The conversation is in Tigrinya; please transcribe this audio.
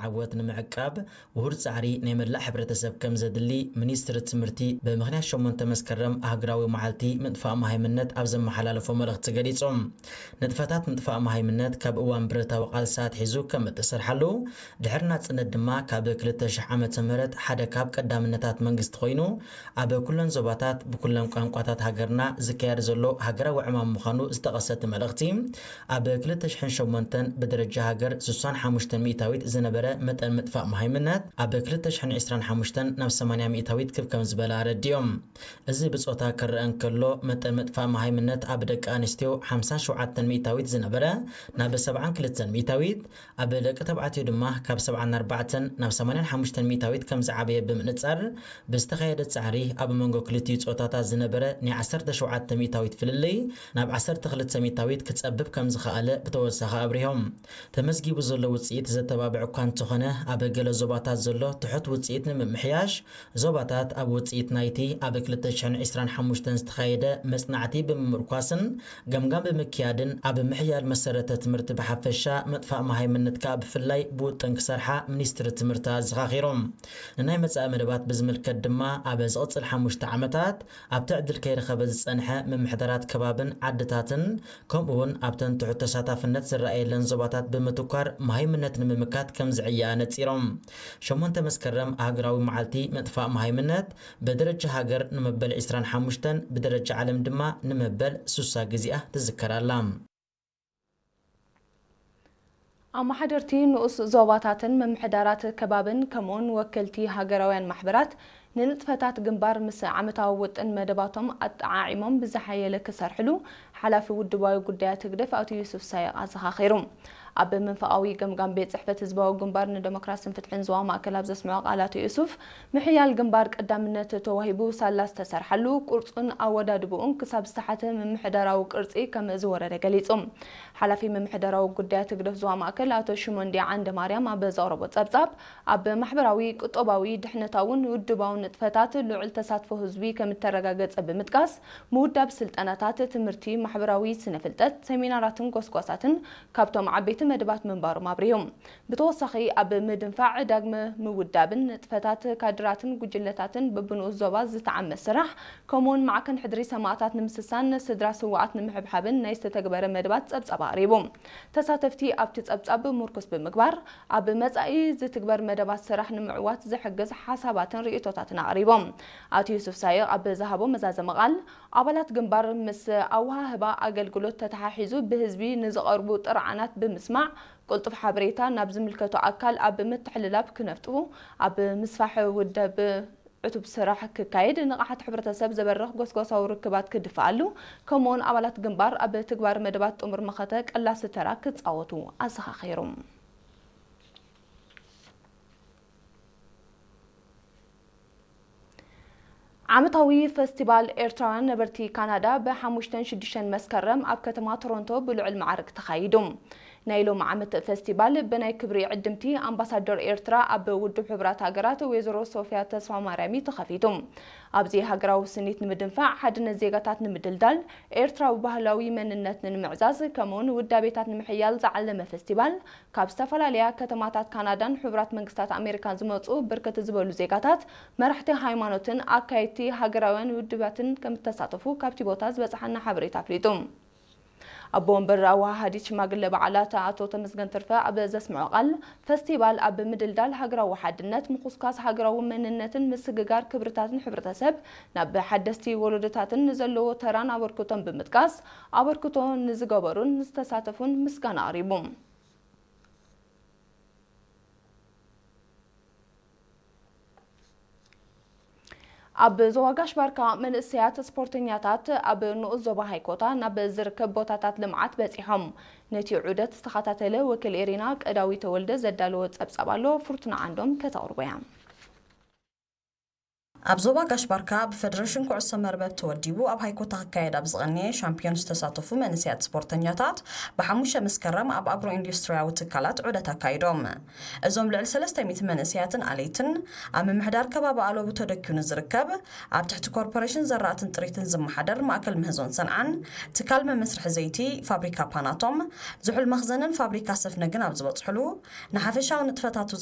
ዓወት ንምዕቃብ ውሁድ ጻዕሪ ናይ መላእ ሕብረተሰብ ከም ዘድሊ ሚኒስትሪ ትምህርቲ ብምኽንያት ሸሞንተ መስከረም ኣህግራዊ መዓልቲ ምጥፋእ መሃይምነት ኣብ ዘመሓላለፎ መልእኽቲ ገሊጹ። ንጥፈታት ምጥፋእ መሃይምነት ካብ እዋን ብረታዊ ቃልሲ ኣትሒዙ ከም እተሰርሓሉ፣ ድሕሪ ናጽነት ድማ ካብ ክልተ ሽሕ ዓመተ ምህረት ሓደ ካብ ቀዳምነታት መንግስቲ ኮይኑ፣ ኣብ ኩለን ዞባታት ብኩለን ቋንቋታት ሃገርና ዝካየድ ዘሎ ሃገራዊ ዕማም ምዃኑ ዝጠቐሰ እቲ መልእኽቲ፣ ኣብ ክልተ ሽሕን ሸሞንተን ብደረጃ ሃገር ስሳን ሓሙሽተን ሚእታዊት ዝነበረ መጠን ምጥፋእ መሃይምነት ኣብ ክልተ ሽሕን ዕስራን ሓሙሽተን ናብ ሰማንያ ሚእታዊት ክብ ከም ዝበለ ኣረዲኦም። እዚ ብጾታ ክረአ እንከሎ፣ መጠን ምጥፋእ መሃይምነት ኣብ ደቂ ኣንስትዮ ሓምሳን ሸውዓተን ሚእታዊት ዝነበረ ናብ ሰብዓን ክልተን ሚእታዊት፣ ኣብ ደቂ ተባዕትዮ ድማ ካብ ሰብዓን ኣርባዕተን ናብ ሰማንያን ሓሙሽተን ሚእታዊት ከም ዝዓበየ ብምንጻር፣ ብዝተኻየደ ጻዕሪ ኣብ መንጎ ክልቲኡ ጾታታት ዝነበረ ናይ ዓሰርተ ሸውዓተ ሚእታዊት ፍልልይ ናብ ዓሰርተ ክልተ ሚእታዊት ክጸብብ ከም ዝኸኣለ ብተወሳኺ ኣብሪሆም። ተመዝጊቡ ዘሎ ውጽኢት ዘተባብዕ እኳ እንተኾነ፣ ኣብ ገለ ዞባታት ዘሎ ትሑት ውጽኢት ንምምሕያሽ፣ ዞባታት ኣብ ውጽኢት ናይቲ ኣብ ክልተ ሽሕን ዕስራን ሓሙሽተን ዝተኻየደ መጽናዕቲ ብምምርኳስን ገምጋም ብምክያድን ኣብ ምሕያል መሰረተ ትምህርቲ ብሓፈሻ፣ ምጥፋእ መሃይምነት ከኣ ብፍላይ ብውጥን ክሰርሓ ሚኒስትሪ ትምህርቲ ኣዘኻኺሮም። ንናይ መጻኢ መደባት ብዝምልከት ድማ ኣብ ዝቕጽል ሓሙሽተ ዓመታት ኣብቲ ዕድል ከይረኸበ ዝጸንሐ ምምሕዳራት ከባብን ዓድታትን ከምኡ እውን ኣብተን ትሑት ተሳታፍነት ዝረኣየለን ዞባታት ብምትኳር መሃይምነት ንምምካት ከም ዝዕየ ኣነጺሮም። ሸሞንተ መስከረም ኣህግራዊ መዓልቲ ምጥፋእ መሃይምነት ብደረጃ ሃገር ንመበል ዕስራን ሓሙሽተን፣ ብደረጃ ዓለም ድማ ንመበል ስሳ ግዜኣ ትዝከር ኣላ። ኣመሓደርቲ ንኡስ ዞባታትን ምምሕዳራት ከባብን ከምኡውን ወከልቲ ሃገራውያን ማሕበራት ንንጥፈታት ግንባር ምስ ዓመታዊ ውጥን መደባቶም ኣጠዓዒሞም ብዝሓየለ ክሰርሕሉ ሓላፊ ውድባዊ ጉዳያት ህግደፍ ኣቶ ዩሱፍ ሳይቕ ኣዘኻኺሩ። ኣብ መንፈቓዊ ገምጋም ቤት ጽሕፈት ህዝባዊ ግንባር ንደሞክራስን ፍትሕን ዞባ ማእከል ኣብ ዘስምዖ ቃል ኣቶ ዩሱፍ፣ ምሕያል ግንባር ቀዳምነት ተዋሂቡ ሳላ ዝተሰርሓሉ ቅርጹን ኣወዳድብኡን ክሳብ ዝተሓተ ምምሕዳራዊ ቅርጺ ከም ዝወረደ ገሊጹ። ሓላፊ ምምሕዳራዊ ጉዳያት ህግደፍ ዞባ ማእከል ኣቶ ሽሞንዲ ዓንደ ማርያም ኣብ ዘቕረቦ ጸብጻብ፣ ኣብ ማሕበራዊ፣ ቁጠባዊ፣ ድሕነታውን ውድባውን ንጥፈታት ልዑል ተሳትፎ ህዝቢ ከም እተረጋገጸ ብምጥቃስ፣ ምውዳብ ስልጠናታት፣ ትምህርቲ፣ ማሕበራዊ ስነ ፍልጠት፣ ሰሚናራትን ጎስጓሳትን ካብቶም ዓበይቲ መደባት ምንባሮም ኣብሪሁ። ብተወሳኺ፣ ኣብ ምድንፋዕ፣ ዳግመ ምውዳብን ንጥፈታት ካድራትን ጉጅለታትን በብንኡስ ዞባ ዝተዓመ ስራሕ፣ ከምኡውን ማዕከን ሕድሪ ሰማእታት ንምስሳን፣ ስድራ ስውኣት ንምሕብሓብን ናይ ዝተተግበረ መደባት ጸብጻብ ኣቕሪቡ። ተሳተፍቲ ኣብቲ ጸብጻብ ምርኩስ ብምግባር፣ ኣብ መጻኢ ዝትግበር መደባት ስራሕ ንምዕዋት ዝሕግዝ ሓሳባትን ርእይቶታትን ኣቕሪቦም። ኣቶ ዩሱፍ ሳይቕ ኣብ ዝሃቦ መዛዘሚ ቃል፣ ኣባላት ግንባር ምስ ኣወሃህባ ኣገልግሎት ተተሓሒዙ ብህዝቢ ንዝቐርቡ ጥርዓናት ብምስማዕ፣ ቅልጡፍ ሓበሬታ ናብ ዝምልከቶ ኣካል ኣብ ምትሕልላፍ ክነፍጡ፣ ኣብ ምስፋሕ ውደብ ዕቱብ ስራሕ ክካየድ፣ ንቕሓት ሕብረተሰብ ዘበርኽ ጎስጓሳዊ ርክባት ክድፍኣሉ፣ ከምኡውን ኣባላት ግንባር ኣብ ትግባር መደባት ጥሙር መኸተ ቀላሲ ተራ ክጻወቱ ኣዘኻኺሩ። ዓመታዊ ፈስቲቫል ኤርትራውያን ነበርቲ ካናዳ ብሓሙሽተን ሽዱሽተን መስከረም ኣብ ከተማ ቶሮንቶ ብልዑል ማዕርግ ተኻይዱ። ናይ ሎም ዓመት ፈስቲቫል ብናይ ክብሪ ዕድምቲ ኣምባሳደር ኤርትራ ኣብ ውድብ ሕቡራት ሃገራት ወይዘሮ ሶፊያ ተስፋማርያም እዩ ተኸፊቱ። ኣብዚ ሃገራዊ ስኒት ንምድንፋዕ፣ ሓድነት ዜጋታት ንምድልዳል፣ ኤርትራዊ ባህላዊ መንነት ንምዕዛዝ፣ ከምኡውን ውዳቤታት ንምሕያል ዝዓለመ ፈስቲቫል፣ ካብ ዝተፈላለያ ከተማታት ካናዳን ሕቡራት መንግስታት ኣሜሪካን ዝመጹ ብርክት ዝበሉ ዜጋታት፣ መራሕቲ ሃይማኖትን ኣካየድቲ ሃገራውያን ውድባትን ከም እተሳተፉ ካብቲ ቦታ ዝበጽሓና ሓበሬታ ኣፍሊጡ። ኣቦ ወንበር ኣወሃሃዲት ሽማግለ በዓላት ኣቶ ተመስገን ትርፈ ኣብ ዘስምዖ ቃል፣ ፈስቲቫል ኣብ ምድልዳል ሃገራዊ ሓድነት፣ ምኹስኳስ ሃገራዊ መንነትን ምስግጋር ክብርታትን ሕብረተሰብ ናብ ሓደስቲ ወለዶታትን ንዘለዎ ተራን ኣበርክቶን ብምጥቃስ፣ ኣበርክቶ ንዝገበሩን ዝተሳተፉን ምስጋና ኣቕሪቡ። ኣብ ዞባ ጋሽ ባርካ መንእሰያት ስፖርተኛታት ኣብ ንኡስ ዞባ ሃይኮታ ናብ ዝርከብ ቦታታት ልምዓት በጺሖም። ነቲ ዑደት ዝተኸታተለ ወኪል ኤሪና ቀዳዊ ተወልደ ዘዳለዎ ጸብጻብ ኣሎ፣ ፍርቱና ዓንዶም ከተቕርቦ እያ። ኣብ ዞባ ጋሽ ባርካ ብፈደረሽን ኩዕሶ መርበብ ተወዲቡ ኣብ ሃይኮታ ክካየድ ኣብ ዝቐነየ ሻምፒዮን ዝተሳተፉ መንእሰያት ስፖርተኛታት ብሓሙሽተ መስከረም ኣብ ኣግሮ ኢንዱስትሪያዊ ትካላት ዑደት ኣካይዶም። እዞም ልዕሊ ሰለስተ ሚእቲ መንእሰያትን ኣለይትን ኣብ ምምሕዳር ከባቢ ኣለቡ ተደኪዩ ንዝርከብ ኣብ ትሕቲ ኮርፖሬሽን ዘራእትን ጥሪትን ዝመሓደር ማእከል ምህዞን ሰንዓን ትካል መመስርሒ ዘይቲ ፋብሪካ ፓናቶም ዝሑል መኽዘንን ፋብሪካ ሰፍነግን ኣብ ዝበጽሕሉ ንሓፈሻዊ ንጥፈታቱ